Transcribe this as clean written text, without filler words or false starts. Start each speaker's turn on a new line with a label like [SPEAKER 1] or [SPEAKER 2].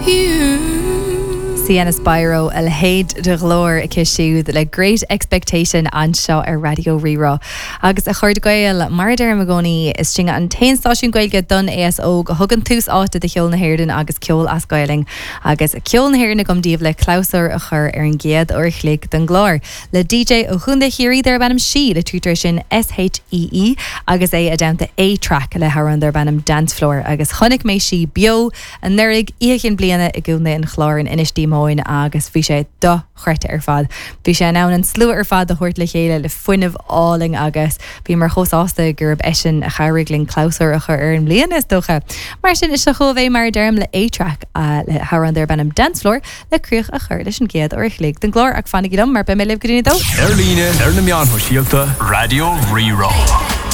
[SPEAKER 1] You.
[SPEAKER 2] Sienna Spiro, a leithéid de ghlór aici siúd le Great Expectation anseo ar Raidió Rí-Rá. Agus a chairde Gael, mar a deirim i gcónaí, is sinne an t-aon stáisiún Gaeilge don aos óg a thugann tús áite do cheol na hÉireann agus ceol as Gaelainn. Agus ceol na hÉireann agam daoibh le clabhsúr a chur ar an gcéad uair a chloig den gclár. Le DJ ó Chontae Chiarraí darb ainm Sí, litrítear é sin S-H-E-E, agus é i dteannta A-Trak le hamhrán darb ainm Dancefloor. Agus chonaic mé Sí beo anuraidh, Oíche Chinn Bliana i gContae an Chláir in Inis Díomóin agus bhí sé dochreidte ar fad. Bhí sé in ann an slua ar fad a thabhairt le chéile le fuinneamh álainn agus bhíomar chomh sásta gurb eisean a chabhraigh linn clabhsúr a chur ar an mbliain, is dócha. Mar sin, seo chugaibh é mar a deirim le A-Trak le hamhrán darb ainm Dancefloor. le críoch a chur leis an gcéad uair a chloig den gclár ach fanaigí liom mar beidh mé libh go dtí a 2.
[SPEAKER 3] Ar líne, ar na meáin shóisialta, Raidió Rí-Rá.